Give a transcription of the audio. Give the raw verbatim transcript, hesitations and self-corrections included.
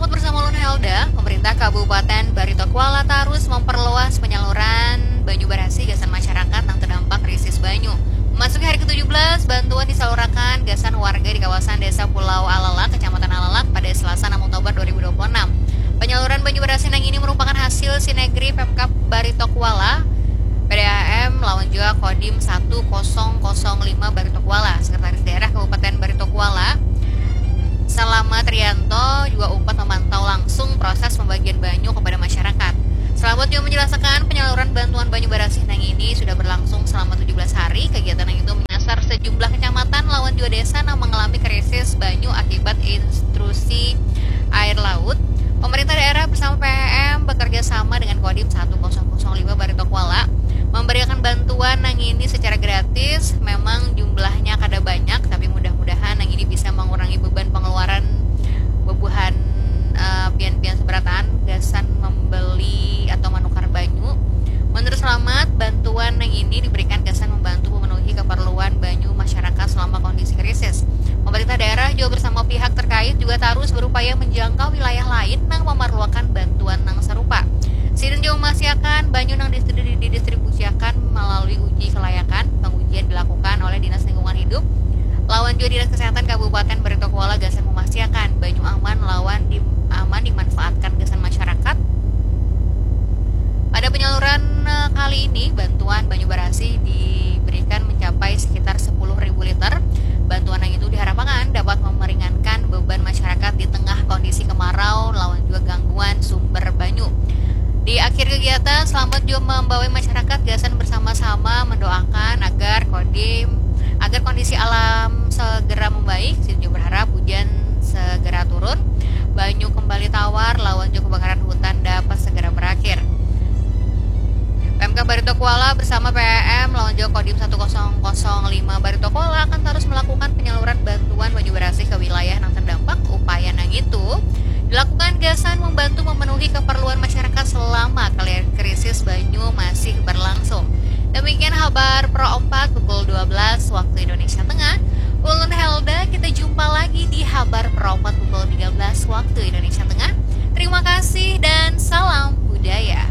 Selamat bersama ulun Helda, pemerintah Kabupaten Barito Kuala tarus memperluas penyaluran banyu barasih gasan masyarakat nang terdampak krisis banyu. Memasuki hari ketujuh belas, bantuan disalurakan gasan warga di kawasan Desa Pulau Alalak, Kecamatan Alalak pada Selasa enam Oktober dua ribu dua puluh enam. Penyaluran banyu barasih nang ini merupakan hasil sinergi Pemkab Barito Kuala, P D A M lawan juga Kodim satu kosong kosong lima Barito Kuala. Sekretaris Daerah Kabupaten Barito Kuala, Salama Trianto, juga umpat memantau langsung proses pembagian banyu kepada masyarakat. Selamat juga menjelaskan penyaluran bantuan banyu barasih nang ini sudah berlangsung selama tujuh belas hari. Kegiatan nang itu menyasar sejumlah kecamatan lawan juga desa nang mengalami krisis banyu akibat intrusi air laut. Pemerintah daerah bersama P M bekerja sama dengan Kodim satu kosong kosong lima Barito Kuala memberikan bantuan nang ini secara gratis. Memang jumlahnya kada banyak, tapi mudah-mudahan nang ini bisa mengurangi beban pengeluaran bebuhan eh, pian-pian seberataan gasan membeli atau menukar banyu. Menurut Selamat, bantuan nang ini diberikan gasan membantu memenuhi keperluan banyu masyarakat selama kondisi krisis. Pemerintah daerah juga bersama pihak terkait juga tarus berupaya menjangkau wilayah lain nang memerlukan bantuan nang serupa. Sidin juga memastikan banyu nang distri- didistribusiakan melalui uji kelayakan, pengujian dilakukan oleh Dinas Lingkungan Hidup lawan juga Dinas Kesehatan Kabupaten Barito Kuala gasan memastikan banyu aman lawan di, aman dimanfaatkan gasan masyarakat. Pada penyaluran eh, kali ini, bantuan banyu barasih diberikan mencapai sekitar sepuluh ribu liter. Bantuan yang itu diharapkan dapat meringankan beban masyarakat di tengah kondisi kemarau lawan juga gangguan sumber banyu. Di akhir kegiatan, Selamat juga membawa masyarakat gasan bersama-sama mendoakan agar Kodim, agar kondisi alam segera membaik. Sidin juga berharap hujan segera turun, banyu kembali tawar, lawan juga kebakaran hutan dapat segera berakhir. P M K Barito Kuala bersama P M lawan juga Kodim satu kosong kosong lima Barito Kuala akan terus melakukan penyaluran bantuan banyu barasih ke wilayah nang terdampak. Upaya nang itu dilakukan gasan membantu memenuhi keperluan masyarakat selama kali- krisis banyu masih berlangsung. Demikian Habar Pro empat pukul dua belas waktu Indonesia Tengah. Ulun Helda, kita jumpa lagi di Habar Pro empat pukul tiga belas waktu Indonesia Tengah. Terima kasih dan salam budaya.